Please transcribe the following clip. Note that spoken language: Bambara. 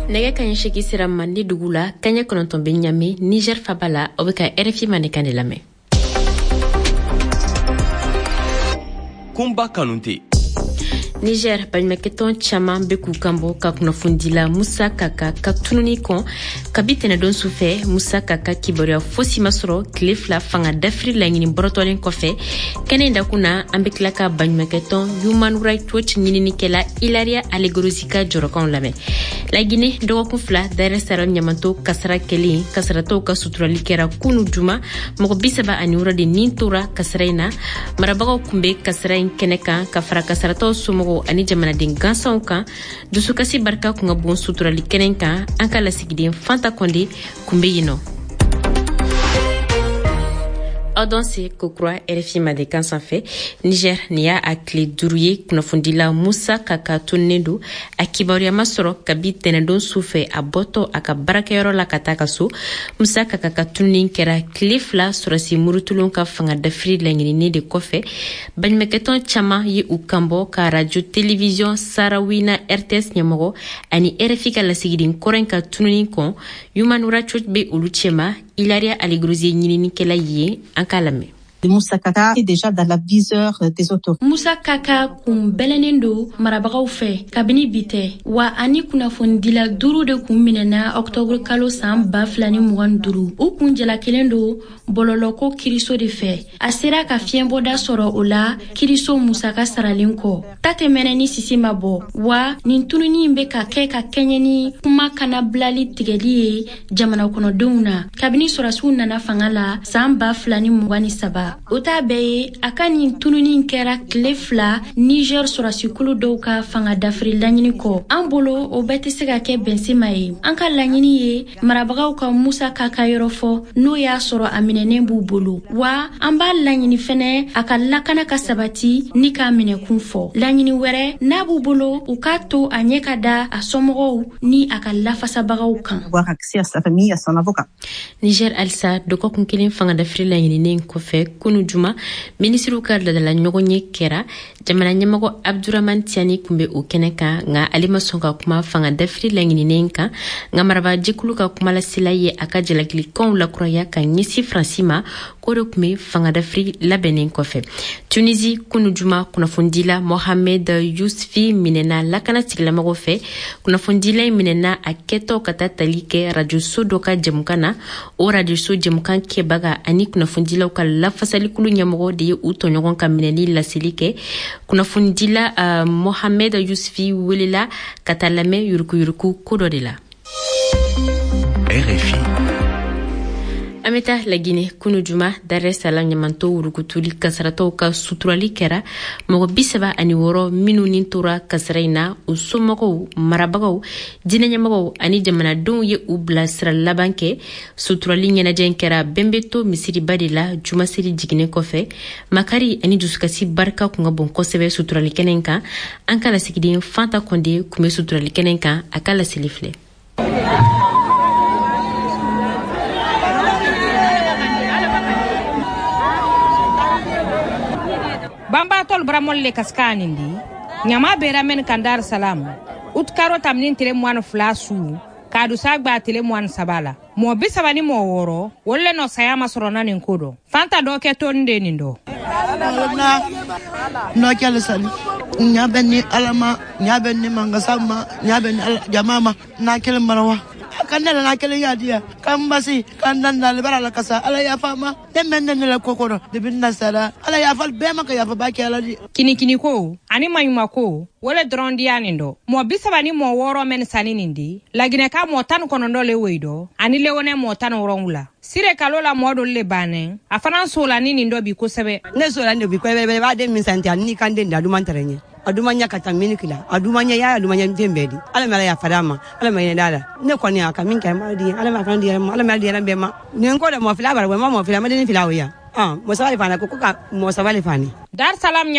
Nɛgɛ kaɲɛ 8 sera Mande dugu la, kaɲɛ 9 bɛ Ɲame, Niger faba la. Aw bɛ ka RFI Mandenkan de lamɛn. Kunba Kanute. Niger, baɲumankɛtɔn caman bɛ k'u kanbɔ ka kunnafonidila Musa Kaka ka tununi kɔn. Kabi tɛnɛdon sufɛ, Musa Kaka kibaruya fosi ma sɔrɔ tile 2 fanga dafiri laɲini bɔrɔtɔlen kɔfɛ. Kɛnɛ in dakun na, an bɛ tila ka baɲumankɛtɔn Human Rights Watch ɲininikɛla Ilaria Allegrozzi ka jɔrɔkanw lamɛn. Lagine, dɔgɔkun 2 Dar es Salaam ɲamanto kasara kɛlen, kasaratɔw ka suturali kɛra kunu juma. Mɔgɔ 36 de nin tora kasara in na. Marabagaw kun bɛ kasara in kɛnɛ kan ka fara kasaratɔw somɔgɔw ani jamanaden gansanw kan. Dusukasi barika kun ka bon suturali kɛnɛ kan. An ka lasigiden Fanta Kɔnde kun bɛ yen nɔ. Aw danse kokura RFI Mandenkan sanfɛ. Niger, nin y'a a tile 5 ye kunnafonidila Musa Kaka tununnen don. A kibaruya ma sɔrɔ kabi tɛnɛndon su fɛ, a bɔtɔ a ka baarakɛyɔrɔ la ka taa ka so. Musa Kaka ka tununi kɛra tile 2 sɔrɔsi murutulon ka fanga dafiri laɲinini de kɔfɛ. Baɲumankɛtɔn caman ye u kanbɔ ka radio télévision Sarawina RTS ɲɛmɔgɔ ani RFI ka lasigiden kɔrɔ in ka tununi kɔn. Human Rights Watch bɛ olu cɛma. Ilaria Allegrozzi ɲininikɛla ye, an k'a lamɛn. Moussa Kaka est déjà dans la viseur des autorités. Moussa Kaka kun bɛlɛnnen don marabagaw fɛ kabini bi tɛ wa, ani kunnafonidila 5 de kun minɛna ɔktɔburu kalo san 2025. U kun jalakelen don bɔlɔlɔko kiriso de fɛ. A sera ka fiɲɛbɔda sɔrɔ o la kiriso musaka saralen kɔ. Ta tɛ mɛnɛ ni sisi ma bɔ wa, nin tununi in bɛ ka kɛ ka kɛɲɛ ni kuma kanabilali tigɛli ye jamana kɔnɔdenw na kabini sɔrɔsiw nana fanga la san 2023. O t'a bɛɛ ye, a ka nin tununi kɛra tile 2 Niger sɔrɔsikulu dɔw ka fanga dafiri laɲini kɔ. An bolo o bɛɛ tɛ se ka kɛ bɛnsema ye. An ka laɲini ye marabagaw ka Musa Kaka yɔrɔ fɔ, n'o y'a sɔrɔ a minɛnen b'u bolo wa. An b'a laɲini fɛnɛ a ka lakana ka sabati ni k'a minɛkun fɔ. Laɲini wɛrɛ n'a b'u bolo, u k'a to a ɲɛ ka da a somɔgɔw ni a ka lafasabagaw kan. Niger halisa, dɔgɔkun kelen fanga dafiri laɲininen kɔfɛ, kunu juma minisiriw ka ladala ɲɔgɔnye kɛra. Jamana ɲɛmɔgɔ Abdurahman Tiani kun bɛ o kɛnɛ kan, nka ale ma sɔn ka kuma fanga dafiri laɲininen kan. Nka marabajɛkulu ka kumalasela ye a ka jalakilikanw lakuraya ka ɲɛsin Faransi ma, k'o de tun bɛ fanga dafiri labɛnnen kɔfɛ. Tunisi, kunu juma kunnafonidila Mohamed Youssfi minɛna lakana tigilamɔgɔw fɛ. Kunnafonidila in minɛna a kɛtɔ ka taa tali kɛ rajoso dɔ ka jɛmukan na. O rajoso jɛmukan kɛbaga ani kunnafonidilaw ka lafasalikulu ɲɛmɔgɔ de ye u tɔɲɔgɔn ka minɛli laseli kɛ. Kunnafonidila Mohamed Youssfi welela ka taa lamɛn yurukuyuruku ko dɔ de la. RFI. An bɛ taa Lagine. Kunu juma, Dar es Salaam ɲamanto wurukutuli kasaratɔw ka suturali kɛra. Mɔgɔ 36 minnu ni tora kasara in na, u somɔgɔw, marabagaw, diinɛ ɲɛmɔgɔw ani jamanadenw ye u bilasira laban kɛ. Suturali ɲɛnajɛ in kɛra Bɛnbɛto misiriba de la jumaseli jiginnen kɔfɛ. Makari ani dusukasi barika kun ka bon kosɛbɛ suturali kɛnɛ in kan. An ka lasigiden Fanta Kɔnde kun bɛ suturali kɛnɛ in kan, a ka laseli filɛ. Banbatɔl baramɔli le kasika nin di ɲama bera men kan Dar Salam utkaro tamnin tile 22 su k'a dusa gba tile 23 la. Mɔgɔ 36 olu le nɔ saya ma sɔrɔ na nin ko dɔ. Fanta dɔ kɛ toni de nin dɔ. N'o kɛlen sani ɲa bɛ ni Ala ma, ɲa bɛ ni mankasa ma, ɲa bɛ ni jama ma. N'a kelen marawa ka ne la, n'a kelen yadiya ka n basi ka n dan dale bara la kasa. Ala yafa ma ne mɛn ne la ko kɔnɔ depuis n na sara. Ala yafa bɛɛ ma ka yafa ba kɛ Ala di. Kinikini ko ani maɲuma ko wole dɔrɔn diya nin dɔ. Mɔgɔ 36 mɛn sani nin di Laginɛ ka mɔgɔ 19 le woyi dɔ ani lewonɛ mɔgɔ 17. Sire kalo la mɔgɔ dɔ le bannen a fana sola ni nin dɔ bi kosɛbɛ. Ne sola ni bi kosɛbɛ. B'a den min santi ani kan den da duman tɛrɛ ɲɛ a duman ɲɛ ka taa miniki la, a duman ɲɛ ya, a duman ɲɛ den bɛɛ di. Ala ma ala yafa ma, Ala ma ɲinɛ la. Ne kɔni a ka min kɛ ma di Ala ma fana di yɛrɛ ma, Ala ma di yɛrɛ bɛɛ ma. Nin ko de mɔ fila bara ma mɔ fila ma den fila o ya mɔ saba le fana ko ka mɔ saba le fani. Dar Salam.